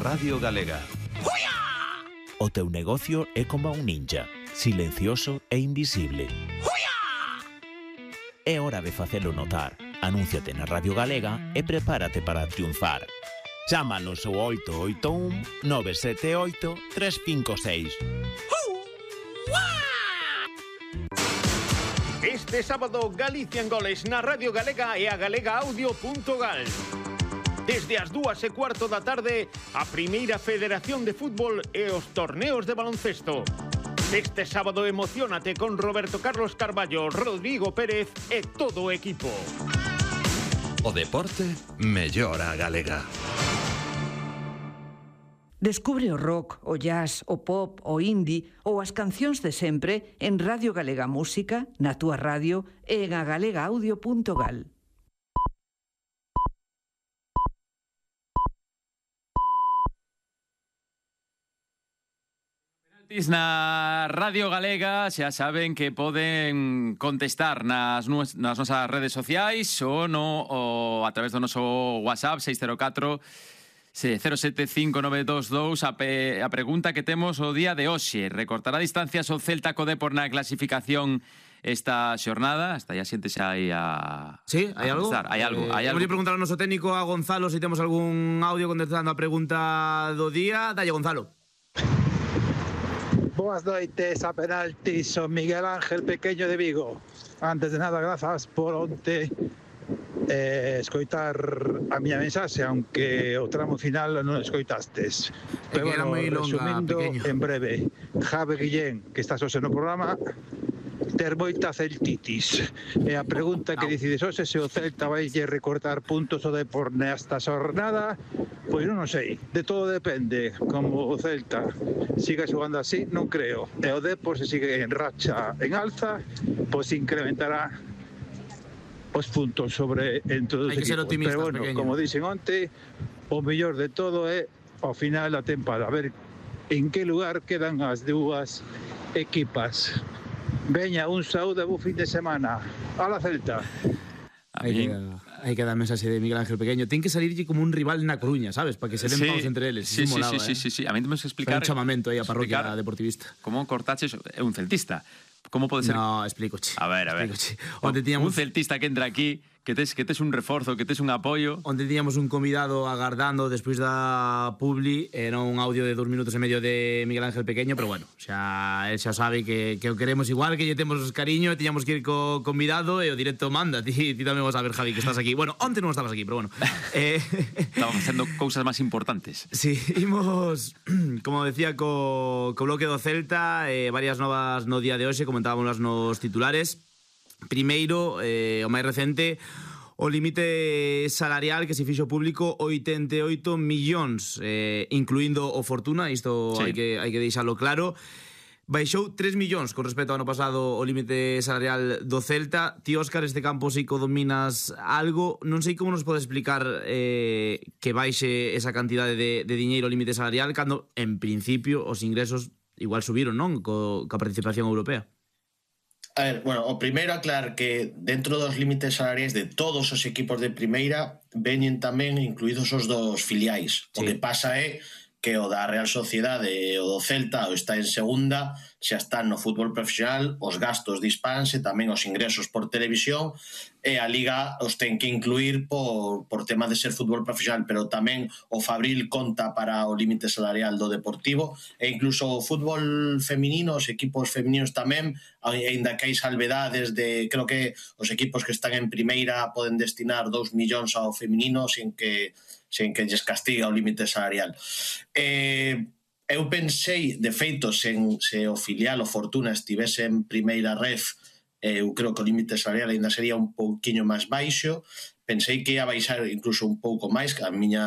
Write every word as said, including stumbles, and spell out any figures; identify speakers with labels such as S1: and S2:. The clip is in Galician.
S1: Radio Galega.
S2: O teu negocio é como un ninja, silencioso e invisible. É hora de facelo notar. Anúnciate na Radio Galega e prepárate para triunfar. Chámanos ao oito oito un nove sete oito tres cinco seis.
S3: Este sábado, Galicia en goles na Radio Galega e a galega audio punto gal. Desde as dúas e cuarto da tarde, a Primeira Federación de Fútbol e os torneos de baloncesto. Este sábado emocionate con Roberto Carlos Carballo, Rodrigo Pérez e todo o equipo.
S1: O deporte mellora a galega.
S4: Descubre o rock, o jazz, o pop, o indie ou as cancións de sempre en Radio Galega Música, na túa radio e en a galega audio punto gal.
S5: Na Radio Galega xa saben que poden contestar nas, nues, nas nosas redes sociais ou, no, ou a través do noso WhatsApp seis cero catro cero sete cinco nove dos dous a, pe, a pregunta que temos o día de hoxe. Recortará distancias o Celta co Depor na clasificación esta xornada? Hasta ya sientes aí a...
S6: Sí, hai algo?
S5: Hai algo, hai
S6: eh,
S5: algo.
S6: Vamos a preguntar ao noso técnico, a Gonzalo, se temos algún audio contestando a pregunta do día. Dalle, Gonzalo.
S7: Boas noites a penalti, son Miguel Ángel Pequeño de Vigo. Antes de nada, grazas por onte eh, escoitar a miña mensaxe, aunque o tramo final non escoitastes. Pero bueno, resumindo en breve, Javi Guillén, que estás hoxe no programa, ter moita celtitis. E a pregunta que decides hoxe se o Celta vai lle recortar puntos o Depor nesta xornada, pois non o sei, de todo depende. Como o Celta siga xogando así, non creo. E o Depor, se sigue en racha en alza, pois incrementará os puntos sobre entre os equipos. Pero bueno, pequeño. Como dixen onte, o mellor de todo é ao final da tempada, a ver en que lugar quedan as dúas equipas. Veña, un saúde, bo fin de semana. Ala Celta.
S6: Hai que, hai que dar mensaxe de Miguel Ángel Pequeño. Ten que salirlle como un rival na Coruña, sabes? Para que se den sí, paus entre eles.
S5: Sí, sí,
S6: molaba,
S5: sí,
S6: eh?
S5: sí, sí, sí. A mí temos que explicar...
S6: Fai un chamamento aí a parroquia deportivista.
S5: Como cortaches é un celtista. Como pode ser?
S6: No, explícoche.
S5: A ver, a ver.
S6: Onde tiñamos...
S5: Un celtista que entra aquí, que tes, que tes un reforzo, que tes un apoio.
S6: Onde tiñamos un convidado agardando despois da publi, era un audio de dos minutos e medio de Miguel Ángel Pequeño, pero bueno, xa, el xa sabe que, que o queremos igual, que lle temos cariño, tiñamos que ir co convidado e o directo manda. Ti, ti tamén vas a ver, Javi, que estás aquí. Bueno, onte non estabas aquí, pero bueno. eh...
S5: Estamos facendo cousas máis importantes.
S6: Sí, imos, como decía, co, co bloque do Celta, eh, varias novas no día de hoxe, comentábamos nos titulares. Primeiro, eh, o máis recente, o límite salarial que se fixo público oitenta e oito millóns, eh, incluindo o Fortuna, isto sí. hai que hai que deixalo claro. Baixou tres millóns con respecto ao ano pasado o límite salarial do Celta. Ti, Óscar, este campo sí que dominas algo. Non sei como nos pode explicar eh, que baixe esa cantidade de, de diñeiro o límite salarial cando, en principio, os ingresos igual subiron, non? Co, coa participación europea.
S8: A ver, bueno, o primeiro aclarar que dentro dos límites salariais de todos os equipos de primeira veñen tamén incluídos os dos filiais. Sí. O que pasa é que o da Real Sociedade e o do Celta o está en segunda, xa están no fútbol profesional, os gastos dispanse, tamén os ingresos por televisión, e a Liga os ten que incluir por, por tema de ser fútbol profesional, pero tamén o Fabril conta para o límite salarial do Deportivo, e incluso o fútbol feminino, os equipos femininos tamén, aínda que hai salvedades de, creo que os equipos que están en primeira poden destinar dous millóns ao feminino sin que sen que lles castiga o límite salarial. Eh, eu pensei, de feito, sen, se o filial, o Fortuna, estivese en primeira ref, eh, eu creo que o límite salarial ainda sería un pouquiño máis baixo. Pensei que ia baixar incluso un pouco máis, que a miña